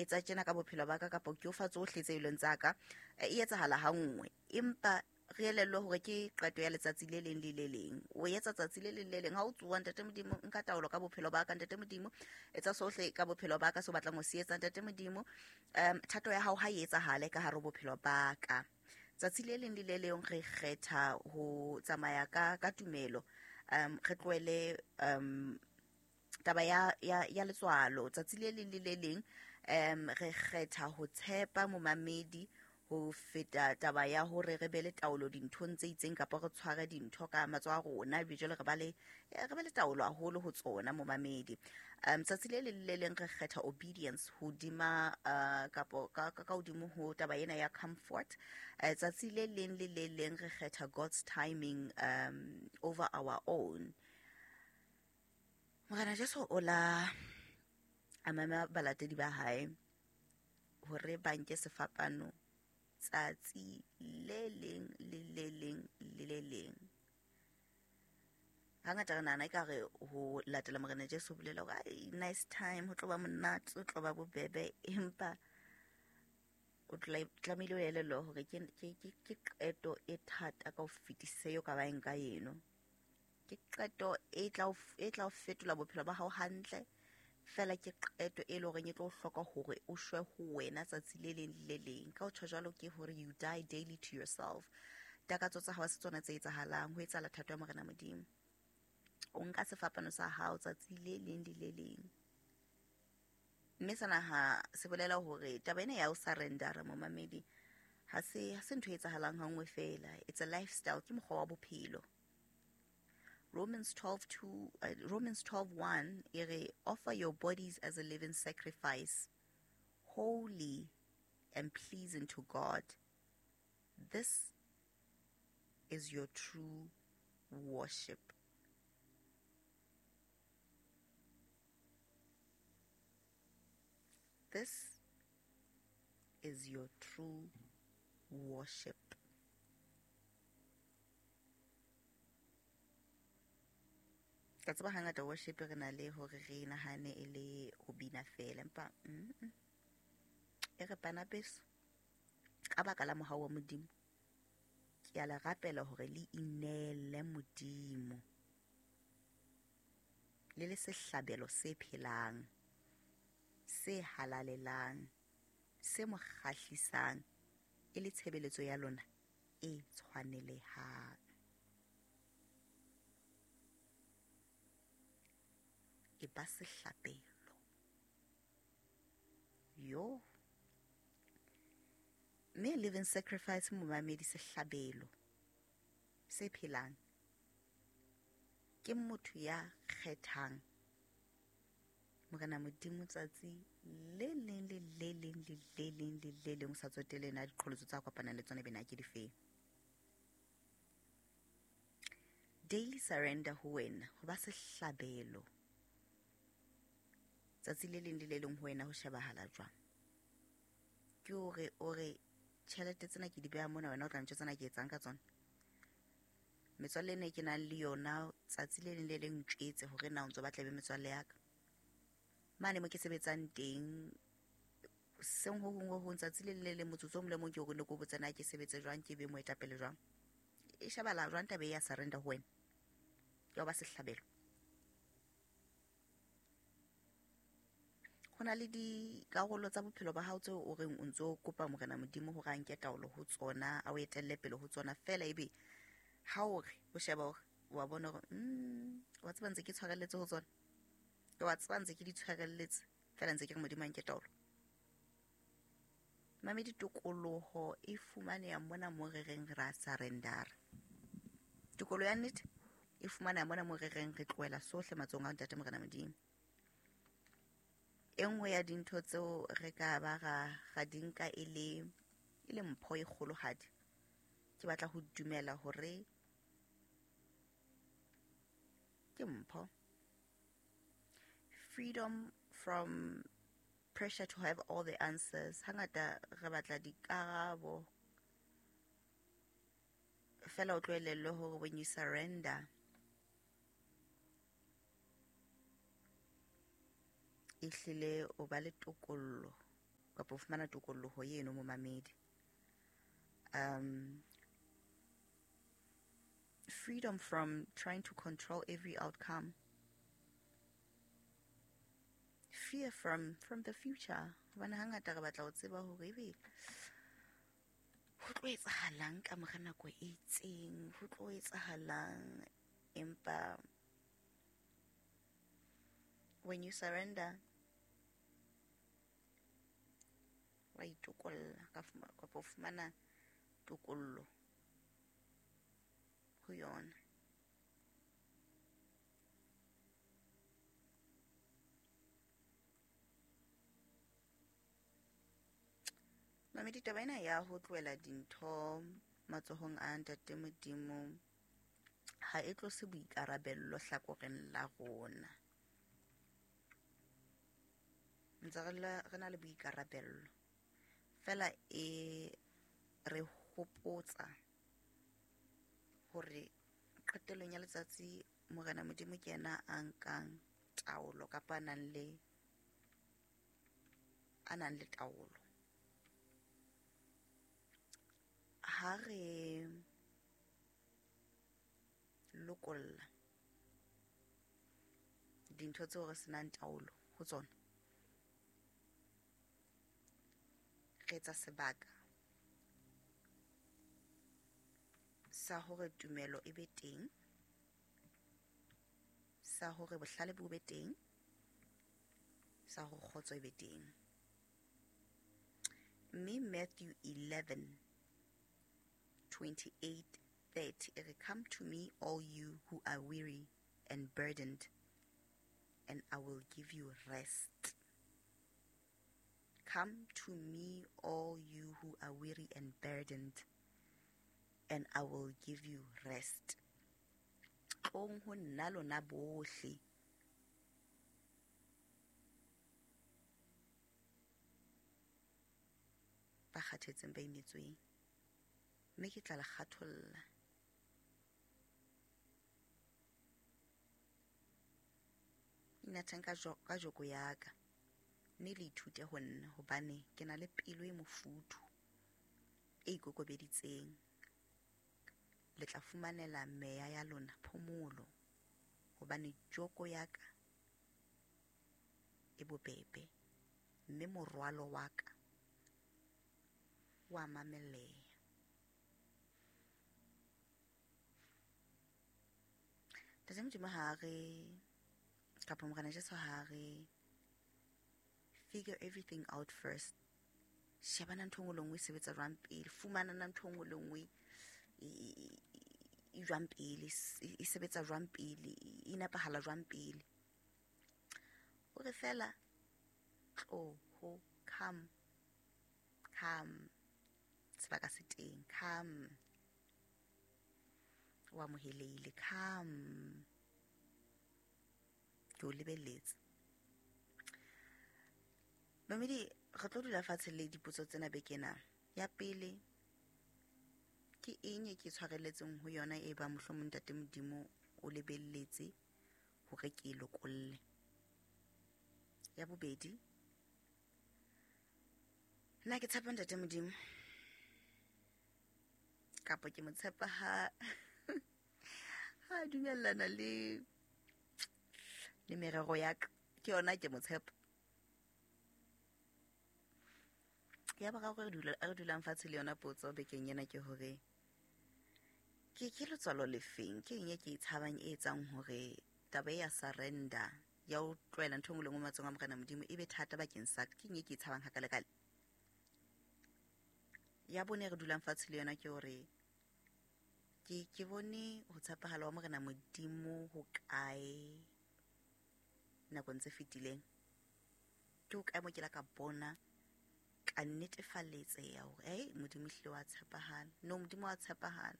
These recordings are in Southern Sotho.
Etsa tjena ka bophelo ba ka, kapa ke o fa tsohle tse e leng tsa ka. E etsahala ha nngwe, empa re elellwe hore ke qeto ya letsatsi le leng le le leng. O etsa tsatsi le leng le leng ha o tsoha, Ntate Modimo, nka taolo ka bophelo ba ka. Ntate Modimo, etsa sohle ka bophelo ba ka se o batlang ho se etsa. Ntate Modimo, thato ya hao ha e etsahale ka hare ho bophelo ba ka. Tsatsi le leng le le leng re kgetha ho tsamaya ka tumelo, re tlohele taba ya letswalo. Tsatsi le leng le le leng re kgetha ho tshepa momamedi ho feta taba ya hore re be le taolo dinthong tse itseng, kapa re tshware dintho ka matsoho a rona, ebe jwale re ba le taolo haholo ho tsona, momamedi. Tsatsi le leng le leng re kgetha obedience hodima kapo ka hodimo ho taba ena ya comfort. Tsatsi le leng le le leng re kgetha God's timing over our own. Morena Jesu o la a mema balatedi ba hae hore ba nke sefapano tsatsi le leng le le leng le le leng. Hangata re nahana ekare ho latela Morena Jesu ho bolela hore ai, nice time, ho tlo ba monate, ho tlo ba bobebe, empa o tlamehile o elellwe hore ke qeto e thata ka ho fetisisa eo ka ba eng ka eno. Ke qeto e tla o fetola bophelo ba hao hantle fela. Ke qeto e leng horeng e tlo hloka hore o shwe ho wena tsatsi le leng le le leng. Ka ho tjho jwalo ke hore you die daily to yourself. Takatso tsa hao ha se tsona tse etsahalang, ho etsahala thato ya Morena Modimo. O nka sefapano sa hao tsatsi le leng le le leng, mme sena ha se bolela hore taba ena ya ho surrendera, momamedi, ha se ntho e etsahalang ha nngwe fela. It's a lifestyle, ke mokgwa wa bophelo. Romans 12:2, Romans 12:1 e re, "Offer your bodies as a living sacrifice, holy and pleasing to God. This is your true worship." This is your true worship. Ka tseba hangata worship re na le hore re nahane e le ho bina fela, empa e re, bana beso, ka baka la mohau wa Modimo, ke a le rapela hore le ineele Modimo le le sehlabelo se phelang, se halalelang, se mo kgahlisang, e le tshebeletso ya lona e tshwanelehang. E ba sehlabelo yo, mme living sacrifice, momamedi, sehlabelo se phelang ke motho ya kgethang Morena Modimo tsatsi le leng le le leng le le leng le le leng, o sa tsotelle na diqholotso tsa kopanang le tsona bena ke difeng. Daily surrender ho wena, ho ba sehlabelo tsatsi le leng le le leng ho wena, ho shebahala jwang? Ke hore o re, tjhelete tsena ke di beha mona, wena o tla ntjwetsa na ke etsang ka tsona. Metswalle ena e ke nang le yona, tsatsi le leng le leng ntjwetse hore na o ntso batla e be metswalle ya ka. Mane mo ke sebetsang teng, seng ho hong ho hong, tsatsi le leng le leng, motsotso o mong le mong, ke hore ne ke o botse na ke sebetse jwang, ke be moetapele jwang. E shebala jwang taba e ya surrender ho wena, ya ho ba sehlabelo? Ho na le dikarolo tsa bophelo ba hao tseo o reng o ntso kopa Morena Modimo hore a nke taolo ho tsona, a o etelle pele ho tsona fela, ebe ha o re o sheba hore wa bona hore wa tseba ntse ke tshwarelletse ho tsona, wa tseba ntse ke di tshwarelletse fela, ntse ke re Modimo a nke taolo. Mamedi, tokoloho e fumaneha mona mo re reng ra surrendera. Tokoloho ya nnete e fumaneha mona mo re reng re tlohela sohle matsohong a Ntate Morena Modimo. E nngwe ya dintho tseo re ka ba ra di nka e le mpho e kgolohadi, ke batla ho dumela hore ke mpho, freedom from pressure to have all the answers. Hangata re batla dikarabo fela, o tlohellelwe hore when you surrender, ehlile o ba le tokollo. kapa ho fumana tokolloho eno momamedi. Freedom from trying to control every outcome. Fear from the future. Hobane hangata re batla ho tseba hore ebe ho tlo etsahalang ka mora nako e itseng, ho tlo etsahalang, empa when you surrender, wa itokolla kapa o fumana tokollo ho yona. Mamedi, taba ena ya ho tlohela dintho matsohong a Ntate Modimo ha e tlose boikarabello hlakoreng la rona. Ntse re na le boikarabello, fela e re hopotsa hore qetellong ya letsatsi Morena Modimo ke yena a nkang taolo kapa a nang le taolo. Ha re lokolla dintho tseo re senang taolo ho tsona, re etsa sebaka sa hore tumelo e be teng, sa hore bohlale bo be teng, sa hore kgotso e be teng. Mme Matthew 11:28-30 e re, come to me all you who are weary and burdened, and I will give you rest. Come to me all you who are weary and burdened, and I will give you rest. Tlong ho nna lona bohle ba kgathetseng ba imetsweng, mme ke tla le kgatholla. Inathang ka joko ya ka, mme le ithute ho nna, hobane ke na le pelo e mofuthu, e ikokobeditseng. Le tla fumanela meya ya lona phomolo, hobane joko ya ka e bobebe, mme morwalo wa ka wa mamelleha. Ntate Modimo ha re, kapa Morena Jesu ha re, figure everything out first. Shebana ntho e nngwe le nngwe e sebetsa jwang pele, fumana ntho e nngwe le nngwe e jwang pele, e sebetsa jwang pele, e nepahala jwang pele. O re fela tlo ho, come, come, sebaka se teng, come, o amohelehile, come, ke o lebelletse. Mamedi, re tlo dula fatshe le dipotso tsena beke ena. Ya pele, ke eng e ke tshwarelletseng ho yona e ba mohlomong Ntate Modimo o lebelletse hore ke e lokolle? Ya bobedi, nna ke tshepa Ntate Modimo kapa ke mo tshepa ha ha dumellana le merero ya ka, ke yona ke mo tshepa. Ya boraro re dulang fatshe le yona potso bekeng ena ke hore ke letswalo lefeng, ke eng e ke e tshabang e etsang hore taba ya surrender ya ho tlohela ntho e nngwe le nngwe matsohong a Morena Modimo e be thata bakeng sa ka, ke eng e ke e tshabang hakalekale? Ya bone re dulang fatshe le yona ke hore ke bone ho tshepahala wa Morena Modimo ho kae nakong tse fetileng, ke ho kae mo ke la ka bona ka netefaletseha hore hey, Modimo ehlile wa tshepahala. No, Modimo wa tshepahala.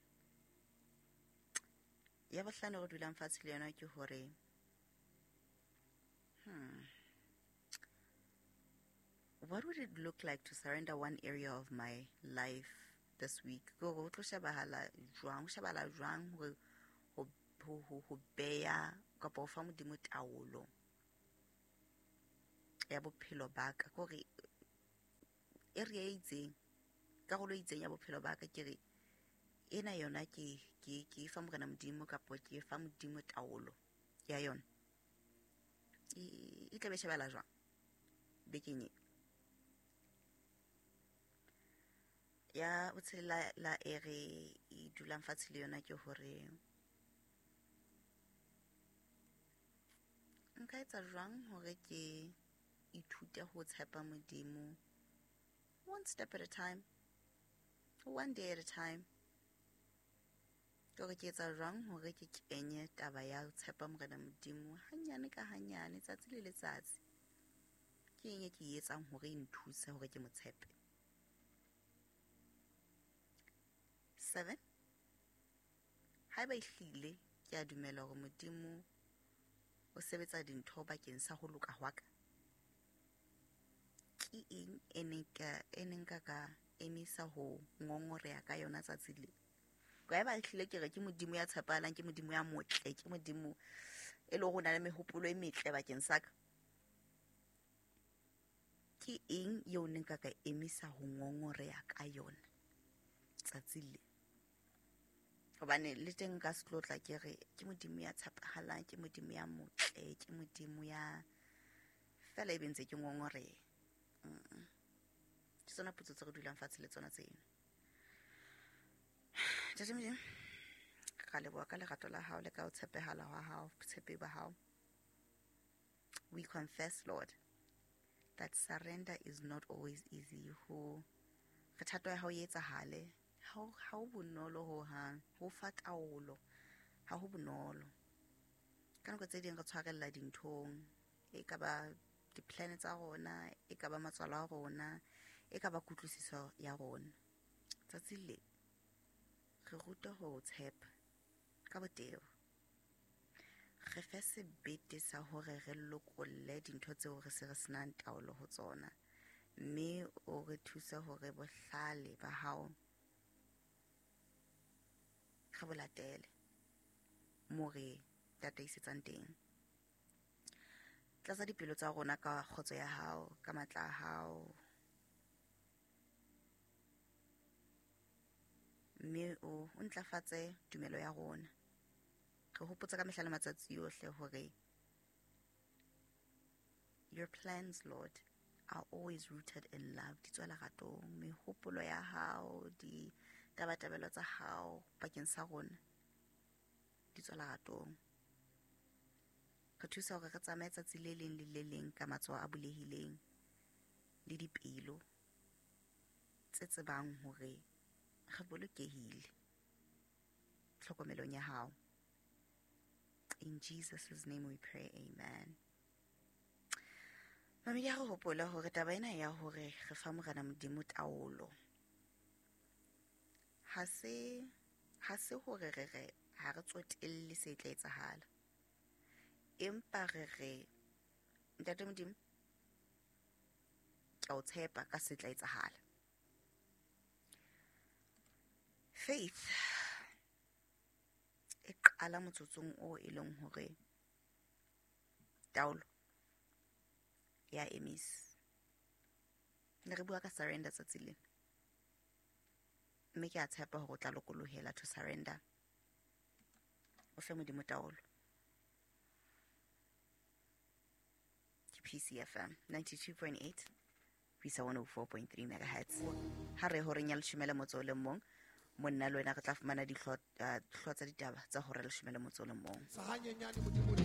Ya bohlano re dulang fatshe le yona ke hore what would it look like to surrender one area of my life this week? Ke hore ho tlo shebahala jwang, ho shebahala jwang hore ho beya kapa ho fa Modimo taolo ya bophelo ba ka. Ke hore area e itseng, karolo e itseng ya bophelo ba ka, ke re ena yona ke fa Morena Modimo kapo ke fa Modimo taolo ya yona. E tla be shebela jwang bekeng e? Ya botshelela la e re e dulang fatshe le yona ke hore nka etsa jwang hore ke ithute ho tshepa Modimo one step at a time, one day at a time. Ke hore ke etsa jwang hore ke kenye taba ya ho tshepa Morena Modimo hanyane ka hanyane, tsatsi le letsatsi. Ke eng e ke e etsang hore e nthuse hore ke mo tshepe? 7. Haeba ehlile ke a dumela hore Modimo o sebetsa dintho bakeng sa ho loka hwa ka, ke eng e neng ka emisa ho ngongoreha ka yona tsatsi le? Ka eba ehlile ke re ke Modimo ya tshepahalang, ke Modimo ya motle, ke Modimo e leng hore o na le mehopolo e metle bakeng sa ka, ke eng eo neng ka emisa ho ngongoreha ka yona tsatsi le? Hobane le teng nka se tlo tla ke re ke Modimo ya tshepahalang, ke Modimo ya motle, ke Modimo ya fela, ebe ntse ke ngongoreha. Ke tsona potso tse re dulang fatshe le tsona tseno. Ntate Modimo, ra leboha ka lerato la hao le ka ho tshepehala hwa hao, botshepehi ba hao. We confess, Lord, that surrender is not always easy. Ho re thato ya hao e etsahale, ha ho bonolo ho hang, ho fa taolo ha ho bonolo. Ka nako tse ding re tshwarella dinthong, e ka ba di-plan tsa rona, e ka ba matswalo a rona, e ka ba kutlwisiso ya rona. Tsatsi le re rute ho tshepa ka botebo, re fe sebete sa hore re lokolle dintho tseo re se re senang taolo ho tsona, mme o re thuse hore bohlale ba hao re bo latele mo re tataisetsang teng. Tlatsa dipelo tsa rona ka kgotso ya hao, ka matla a hao, mme o ntlafatse tumelo ya rona. Re hopotsa ka mehla le matsatsi yohle hore your plans, Lord, are always rooted in love. Di tswa leratong. Mehopolo ya hao, ditabatabelo tsa hao bakeng sa rona di tswa leratong. Re thusa hore re tsamaye tsatsi le leng le le leng ka matsoho a bulehileng le dipelo tse tsebang hore re bolokehile tlhokomelong ya hao. In Jesus' name we pray, amen. Mamedi, ha re hopola hore taba ena ya hore re fa Morena Modimo taolo, ha se hore re re ha re tsotelle se tla etsahala, empa re re Ntate Modimo, ke a o tshepa ka se tla etsahala. Faith e qala motsotsong o e leng hore taolo ya emisa. Ne re bua ka surrender tsatsi lena, mme ke a tshepa hore o tla lokolohela to surrender, o fe Modimo taolo. Ke PCFM 92.8 ho isa 104.3 megahertz. Ha re horeng ya 11:01, monna le wena re tla fumana dihlooho tsa ditaba tsa hora 11:01. Sa hanyenyane Modimo le